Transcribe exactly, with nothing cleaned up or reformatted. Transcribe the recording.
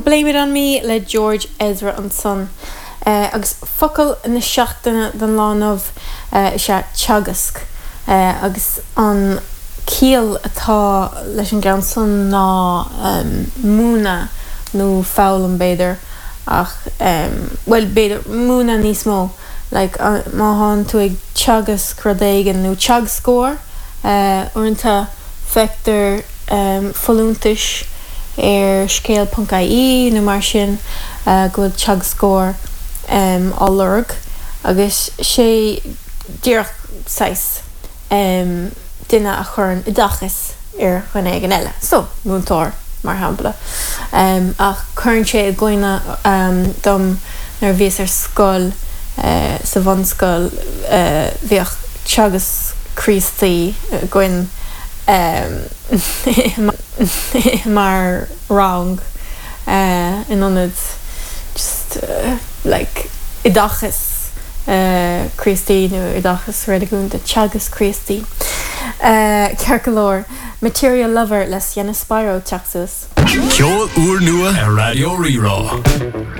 Blame It On Me le George Ezra ansan. Uh, agus focal na seachtaine don lá inniu uh, is ea teagasc uh, agus an ciall atá leis an gceann san ná um, múineadh nó foghlaim b'fhéidir ach um, well b'fhéidir múineadh níos mó like, uh, má tá tú ag teagasc rud éigin nó teagascóir uh, uaireanta feictear um, folúntais ar scéal.ie nó mar sin uh, go bhfuil teagascóir um, á lorg agus sé díreach saghas um, duine a chuireann oideachas ar dhuine éigin eile. So múinteoir mar shampla. Um, ach cuireann sé i gcuimhne um, dom nuair a bhíos ar scoil uh, sa bhunscoil uh, bhíodh teagasc Críostaí againn um, mar rang uh, in ionad just uh, like oideachas uh, Críostaí nó oideachas reiligiúnda teagasc Críostaí. Uh, Ceart go leor Material Lover le Sienna Spiro Texas. Ceol úrnua ar Raidió Rí-Rá.